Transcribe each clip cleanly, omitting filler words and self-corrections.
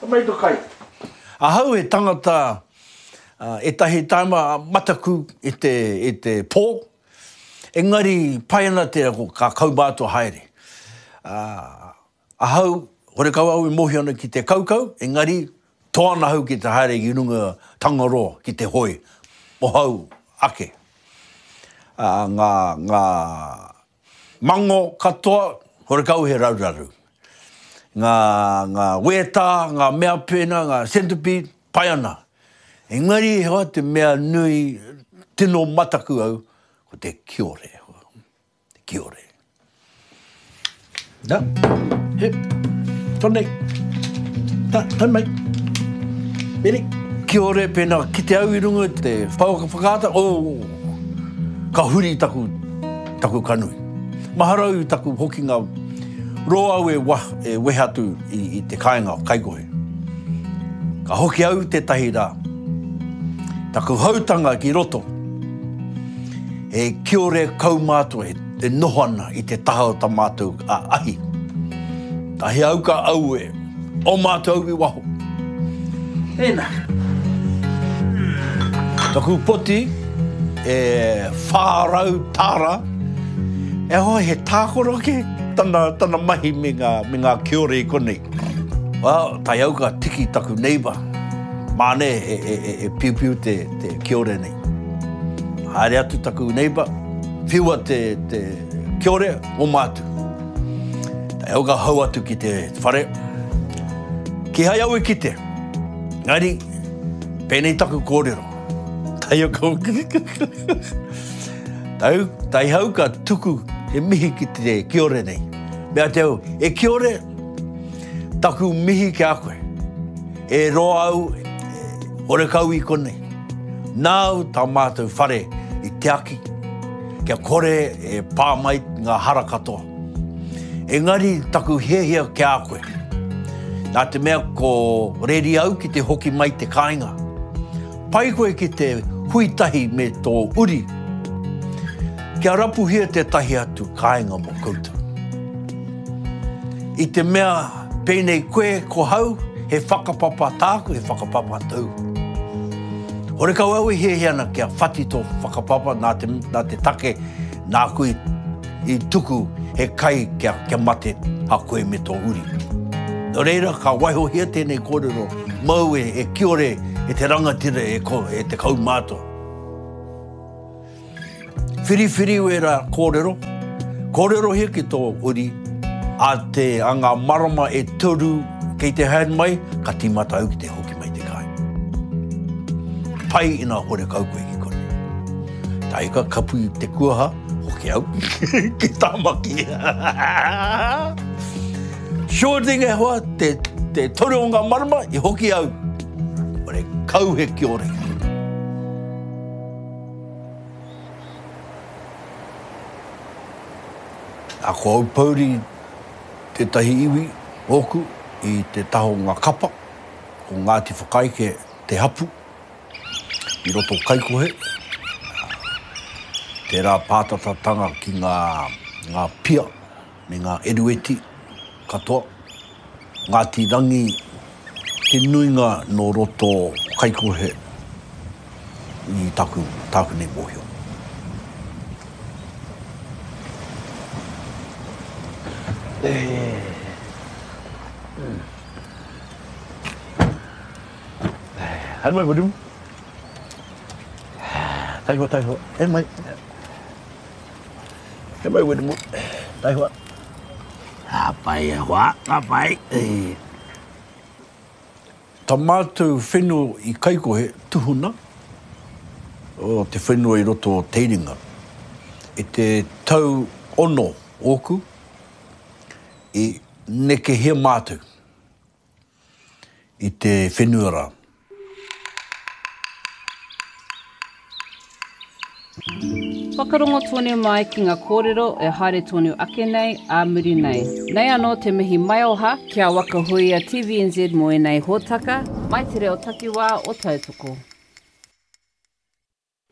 Homai to kai. Ahau he tangata etahi taima mataku i te i te po, engari pai ana te ka kaumātua haere. Ahau, horekau au e mohio ana ki te kaukau, engari toa ana ahau ki te haere ki runga Tangaroa ki te hoe mohau ake. Nga nga Mango katoa, horekau he raruraru. Ngā, ngā wētā, ngā mea pēnā, ngā centipede, pai ana. Engari he hoa te mea nui, tino mataku au, ko te kiore. Te kiore. Na, he, konei. Ta, tau mai. Meri. Kiore pēnā kite au i runga i te pouaka whakaata, oh, ka huri taku, taku kanui. Mahara au i taku hokinga roa au e, wa, e wehe atu i, i te kāinga o Kaikohe. Ka hoki au tētahi rā. Taku hautanga ki roto, he kiore kaumātua e noho ana i te taha o ta mātou ahi. Tahi au ka aue. O mātou i waho. Tēnā. Taku poti e 400 tāra. E hoa he tākoro ke tana, tana mahi me ngā, me ngā kiore i konei. Well, tae au ka tiki taku neighbour. Māne e, e, e, e piupiu te, te kiore nei. Haere atu taku neighbour, whiua te, te kiore, oma atu. Tae au ka hau atu ki te whare. Kihai au i kite. Engari, pēnei taku kōrero. Tae au ka... Tae, tae au ka tuku he mihi ki te kiore nei. Mea te au, e kiore, taku mihi ki a koe. E roa au, horekau i konei. Nāu tā mātou whare i tiaki, kia kore e pā mai ngā hara katoa. Engari taku hiahia ki a koe, nā te mea ko reri au ki te hoki mai te kāinga, pai koe ki te hui tahi me tō uri, kia rapuhia tētahi atu kāinga mō koutou. I te mea pēnei koe ko hau, he whakapapa tāku, he whakapapa tōu. Horekau au e hiahia ana kia whati tō whakapapa nā te, nā te take nāku i, i tuku he kai kia, kia mate a koe me tō uri. Nō reira, ka waihohia tēnei kōrero mau e, e kiore e te rangatira e, ko, e te kaumātua. Whiriwhiri wērā kōrero, kōrerohia ki tō uri, a te, a ngā marama e toru kei te haere mai, ka tīmata au ki te hoki mai te kāinga. Pai ina horekau koe ki konei. Tae ka kapu i te kuaha, hoki au ki Tāmaki. Sure thing e hoa, te, te toru o ngā marama i hoki au. Horekau he kiore. A ko Aupouri tētahi iwi ōku i te taha o ngā kapa, ko Ngāti Whakaeke te hapu i roto o Kaikohe, tērā pātatatanga ki ngā, ngā pia me ngā erueti katoa. Ngāti Rangi te nuinga nō roto Kaikohe i taku, tāku nei mōhio. Haere mai Wiremu. Taihoa, taihoa. E mai. E mai Wiremu. Taihoa. Ka pai e hoa, ka pai. Ta matou whenua i Kaikohe, tuhuna, o te whenua i roto o Teiringa. I te tau ono oku, i nekehia matou i te whenua ra. Whakarongo tonu mai ki nga kōrero e haere tonu ake nei, ā muri nei. Nei anō te mihi maioha ki a Waka Huia TVNZ mō ēnei hōtaka, mai te reo takiwā o Tautoko.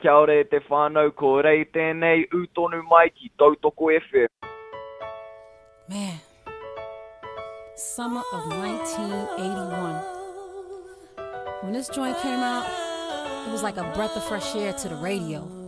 Kia ora e te whānau, ko Rei tēnei, ū tonu mai ki Tautoko FM. Man, summer of 1981. When this joint came out, it was like a breath of fresh air to the radio.